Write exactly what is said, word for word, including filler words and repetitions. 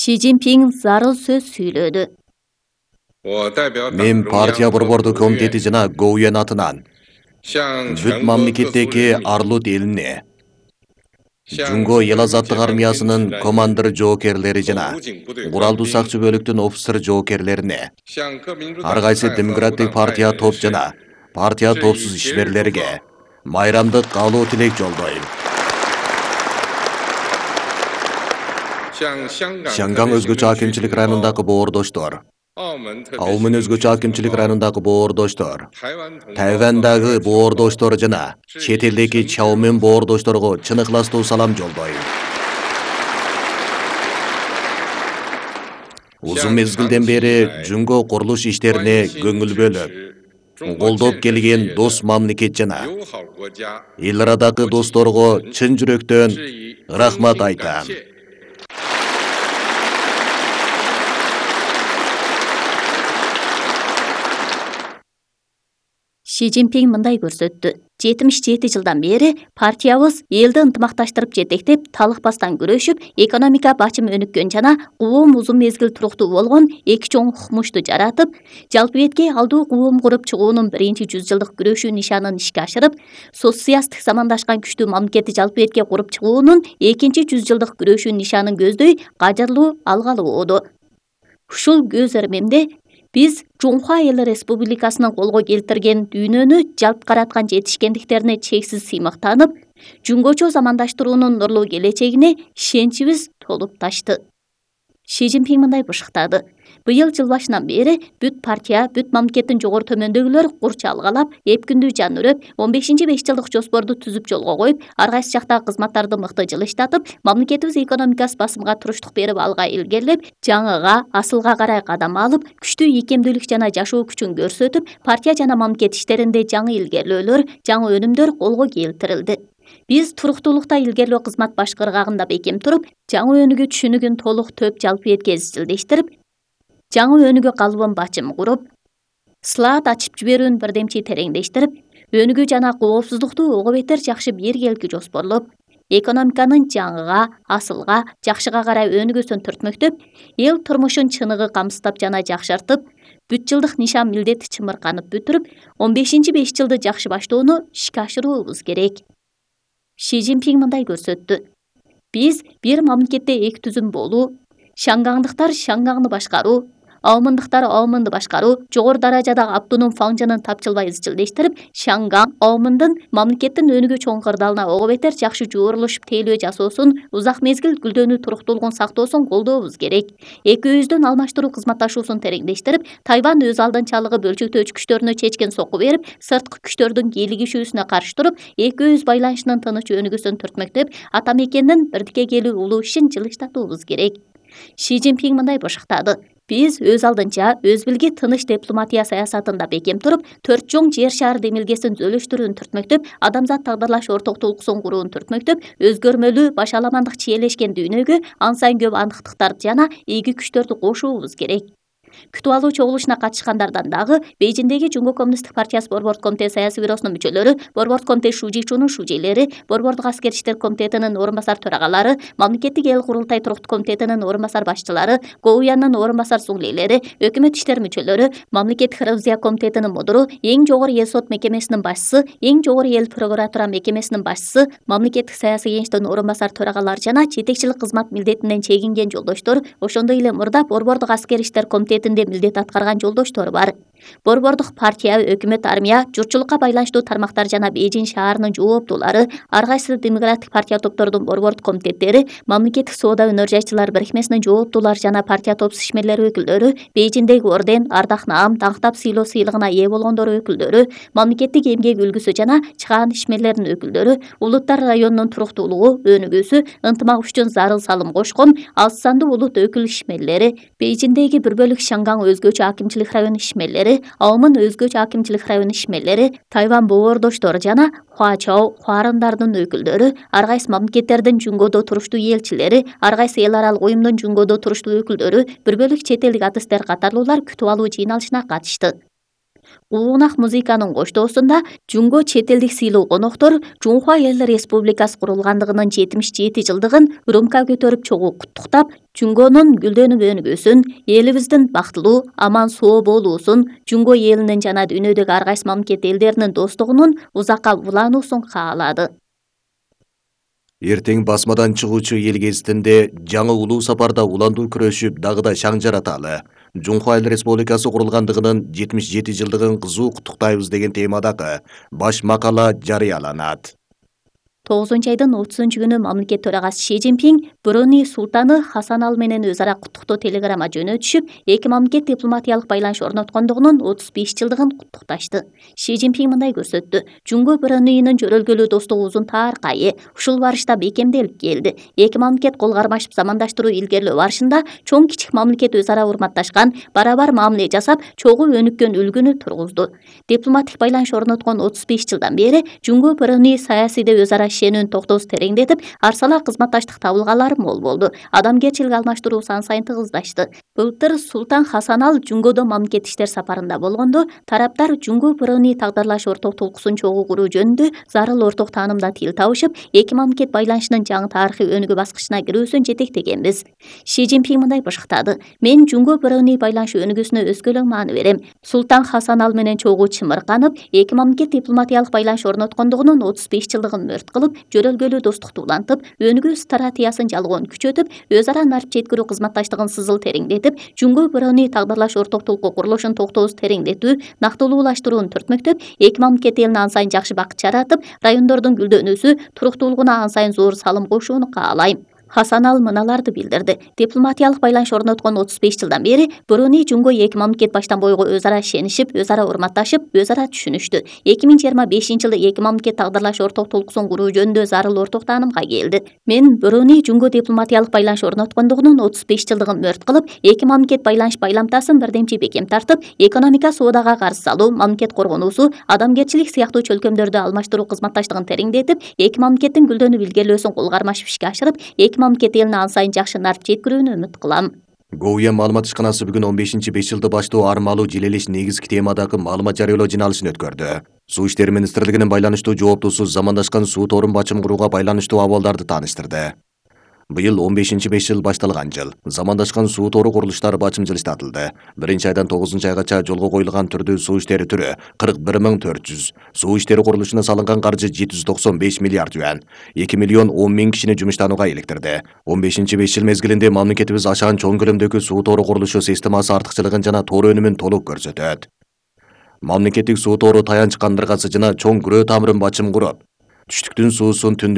Ши Цзиньпин зарыл сөз сүйлөдү. Мен партия борбордук комитети жана Гоуян атынан бүт мамлекеттеги Арлут элине, Жунго эл азаттык армиясынын командир жоокерлери жана куралдуу сакчы бөлүктүн офицер жоокерлерине, ар кайсы демократик партия топ жана партия топсуз ишмерлерге майрамдык каалоо тилек жолдойм. Шанган өзгөчө акимчилик районундагы боордоштор, Аумын өзгөчө акимчилик районундагы боордоштор, Тайвандагы боордоштор жана чет элдеги Чаомен боордошторго чын ыкластуу салам жолдойм. Узун мезгилден бери Жунго курулуш иштерине көңүл бөлүп, колдоп келген дос мамлекет жана эл арадагы досторго чын жүрөктөн рахмат айтам. Ши Цзиньпин мындай көрсөттү. жетимиш жети жылдан бери партиябыз элди ынтымакташтырып жетектеп, талыкпастан күрөшүп, экономика бачым өнүккөн жана куум узун мезгил туруктуу болгон эки чоң укмушту жаратып, жалпы бетке алдуу куум куруп чыгуунун биринчи жүз жылдык күрөшүү нишанын ишке ашырып, социалисттик замандашкан күчтүү мамлекетти жалпы бетке куруп чыгуунун экинчи жүз жылдык күрөшүү нишанын көздөй кажырлуу алгалы болду. Ушул көз эрмемде биз Жунхуа Эл Республикасынын колго келтирген дүйнөнү жалп караткан жетишкендиктерине чексиз сыймыктанып, жөнгөчө замандаштыруунун нурлуу келечегине ишеничибиз толуп ташты. Ши Цзиньпин мындай бышыктады. Быйыл жыл башынан бери бүт партия, бүт мамлекеттин жогору төмөндөгүлөр курч алгалап, эп күндүү жан үрөп, он бешинчи беш жылдык жоспорду түзүп жолго коюп, ар кайсы жактагы кызматтарды мыкты жылыштатып, мамлекетибиз экономикасы басымга туруштук берип алга илгерилеп, жаңыга, асылга карай кадам алып, күчтүү ийкемдүүлүк жана жашоо күчүн көрсөтүп, партия жана мамлекет иштеринде жаңы илгерилөөлөр, жаңы өнүмдөр колго келтирилди. Биз туруктуулукта илгерилөө кызмат баш кыргагында бекем туруп, жаңы өнүгүү түшүнүгүн толук төп жалпы бетке изилдештирип, жаңы өнүгүү калыбын бачым куруп, слаад ачып жиберүүнү бирдемчи тереңдештирип, өнүгүү жана коопсуздукту ого бетер жакшы биргеликке жоспорлоп, экономиканын жаңыга, асылга, жакшыга карай өнүгүүсүн түртмөктөп, эл турмушун чыныгы камсыздап жана жакшыртып, бүт жылдык нишан милдети чымырканып бүтүрүп, он бешинчи беш жылды жакшы баштоону ишке ашыруубуз керек. Ши Цзиньпин мындай көрсөттү. Биз бир мамлекетте эки түзүм болуу, шангаңдыктар шангаңды башкаруу, аумындыктар аумынды башкаруу, жогору даражадагы автоном фаңжынын тапчылбай изчилдештирип, шангаң, аумындын мамлекеттин өнүгүү чоң кырдаалына ого бетер жакшы жуурулушуп тейлөө жасоосун, узак мезгил гүлдөнүү туруктуулугун сактоосун колдообуз керек. Экөөбүздүн алмаштыруу кызматташуусун тереңдештирип, Тайвань өз алдынчалыгы бөлчөктөөчү күчтөрүнө чечкен сокку берип, сырткы күчтөрдүн кийлигишүүсүнө каршы туруп, экөөбүз байланышынын тыныч өнүгүүсүн түртмөктөп, ата мекендин бирдикке келүү улуу ишин жылыштатуубуз керек. Ши Цзиньпин мындай бышыктады. Биз өз алдынча өз билги тыныч дипломатия саясатында бекем туруп, төрт чоң жер шаар демилгесин зөлүштүрүүнү түртмөктөп, адамзат тагдырлаш ортоктуулуксун курууну түртмөктөп, өзгөрмөлүү, башаламандык чиелешкен дүйнөгө ан сайын көп андыктыктарды жана ийги күчтөрдү кошуубуз керек. Күтүп алуу чогулушуна катышкандардан дагы Бейжиңдеги Жунго коммунисттик партиясы борбордук комитет саясий бюросунун мүчөлөрү, борбордук комитет Шужичунун шужейлери, борбордук аскер иштер комитетинин орун басар төрагалары, мамлекеттик эл курултай туруктуу комитетинин орун басар башчылары, Гоуяндын орун басар суңлейлери, өкмөт иштер мүчөлөрү, мамлекеттик ревизия комитетинин мудуру, эң жогору эл сот мекемесинин башчысы, эң жогору эл прокуратура мекемесинин башчысы, мамлекеттик саясий кеңештин орун басар төрагалары жана жетекчилик кызмат милдетинен чегинген жолдоштор, ошондой эле мурда борбордук аскер иштер комитети милдет аткарган жолдоштор бар. Борбордук партия, өкмөт, армия, журтчулукка байланыштуу тармактар жана Бейжиң шаарынын жооптуулары, ар кайсы демократик партия топтордун борбордук комитеттери, мамлекеттик соода өнөр жайчылар бирикмесинин жооптуулары жана партия топсуз ишмерлери өкүлдөрү, Бейжиңдеги орден, ардак наам, таңктап сыйлоо сыйлыгына ээ болгондор өкүлдөрү, мамлекеттик эмгек үлгүсү жана чыгаан ишмерлеринин өкүлдөрү, Улуттар районунун туруктуулугу, өнүгүүсү, ынтымак үчүн зарыл салым кошкон алыс сандуу улут өкүл ишмерлери, Бейжиңдеги бир бөлүк Шангаң өзгөчө акимчилик району ишмерлери, Аумын өзгөчө акимчилик району ишмерлери, Тайвань боордоштор жана Хуачао, Хуарындардын өкүлдөрү, ар кайсы мамлекеттердин Жунгодо туруштуу элчилери, ар кайсы эл аралык уюмдун Жунгодо туруштуу өкүлдөрү, бир бөлүк чет элдик артисттер катарлуулар күтүп алуу жыйналышына катышты. Улуунак музыканын коштоосунда Жунго чет элдик сыйлуу коноктор Жунхва Эл Республикасы курулгандыгынын жетимиш жети жылдыгын урумка көтөрүп чогуу куттуктап, Жунгонун гүлдөнүп өнүгүүсүн, элибиздин бактылуу, аман соо болуусун, Жунго элинин жана дүйнөдөгү ар кайсы мамлекет элдеринин достугунун узакка улануусун каалады. Эртең басмадан чыгуучу эл гезитинде жаңы улуу сапарда уландуу күрөшүп, дагы да шаң жараталы. Жунхва Эл Республикасы курулгандыгынын жетимиш жети жылдыгын кызуу куттуктайбыз деген темадагы баш макала жарыяланат. тогузунчу айдын отузунчу күнү мамлекет төрагасы Ши Цзиньпин Бруней султаны Хасан Ал менен өз ара куттуктоо телеграмма жөнөтүшүп, эки мамлекет дипломатиялык байланыш орноткондугунун отуз беш жылдыгын куттукташты. Ши Цзиньпин мындай көрсөттү: Жунго Брунейнин жөрөлгөлүү достугу узун таркайы, ушул барышта бекемделип келди. Эки мамлекет кол кармашып замандаштыруу илгерилөө барышында чоң кичик мамлекет өз ара урматташкан, барабар мамиле жасап, чогуу өнүккөн үлгүнү тургузду. Дипломатик байланыш орноткон отуз беш жылдан бери Жунго Бруней саясийде өз ара ишенүүнүн токтоосу тереңдетип, арсала кызматташтык табылгалары мол болду. Адамгерчилик алмаштыруу сан сайын тыгыздашты. Былтыр Султан Хасан Ал Жунгодо мамлекет иштер сапарында болгондо, тараптар Жунго Бруней тагдырлаш орток толкусун чогуу куруу жөнүндө зарыл орток таанымда тил табышып, эки мамлекет байланышынын жаңы тарыхый өнүгүү баскычына кирүүсүн жетектегенбиз. Ши Цзиньпин мындай бышыктады: Мен Жунго Бруней байланышы өнүгүүсүнө өзгөлөң маани берем. Султан Хасан Ал менен чогуу чымырканып, эки мамлекет дипломатиялык байланыш орноткондугунун отуз беш жылдыгын мөрт кылып, жөрөлгөлүү достукту улантып, өнүгүү стратегиясын жалгоон күчөтүп, өз ара нарып жеткирүү кызматташтыгын сызыл тереңдетип, Жунго Бруней тагдырлаш орток толку курулушун токтоосу тереңдетүү, нактылуулаштырууну түртмөктөп, эки мамлекет элине ан сайын жакшы бакыт жаратып, райондордун гүлдөнүүсү, туруктуулугуна ан сайын зор салым кошууну каалайм. Хасан Ал мыналарды билдирди: Дипломатиялык байланыш орноткон отуз беш жылдан бери Бруней Жунго эки мамлекет баштан бойго өз ара ишенишип, өз ара урматташып, өз ара түшүнүштү. эки миң жыйырма бешинчи жылы эки мамлекет тагдырлаш орток толкусун куруу жөнүндө зарыл орток таанымга келди. Мен Бруней Жунго дипломатиялык байланыш орноткондугунун отуз беш жылдыгын мөрт кылып, эки мамлекет байланыш байламтасын бирдемчи бекем тартып, экономика соодага каршы салуу, мамлекет коргонуусу, адамгерчилик сыяктуу чөлкөмдөрдү алмаштыруу кызматташтыгын тереңдетип, эки мамлекеттин гүлдөнүп илгерилөөсүн кол кармашып ишке ашырып, эки мамлекет элине ан сайын жакшы нарып жеткирүүнү үмүт кылам. Гоуя маалымат ишканасы бүгүн он бешинчи беш жылды баштоо армалуу желелеш негизги темадагы маалымат жарыялоо жыйналышын өткөрдү. Суу иштери министрлигинин байланыштуу жооптусу замандашкан суу торун бачым курууга байланыштуу абалдарды тааныштырды. Быйыл он бешинчи беш жыл башталган жыл. Замандашкан суу тору курулуштары бачым жылыштатылды. Биринчи айдан тогузунчу айгача жолго коюлган түрдүү суу иштери түрү кырк бир миң төрт жүз. Суу иштери курулушуна салынган каржы жети жүз токсон беш миллиард юан. эки миллион он миң кишини жумуштанууга иликтирди. он бешинчи беш жыл мезгилинде мамлекетибиз ашаан чоң көлөмдөгү суу тору курулушу системасы артыкчылыгын жана тору өнүмүн толук көрсөтөт. Мамлекеттик суу тору таянч кандыргасы жана чоң күрөө тамырын бачым куруп, түштүктүн суусун түндүк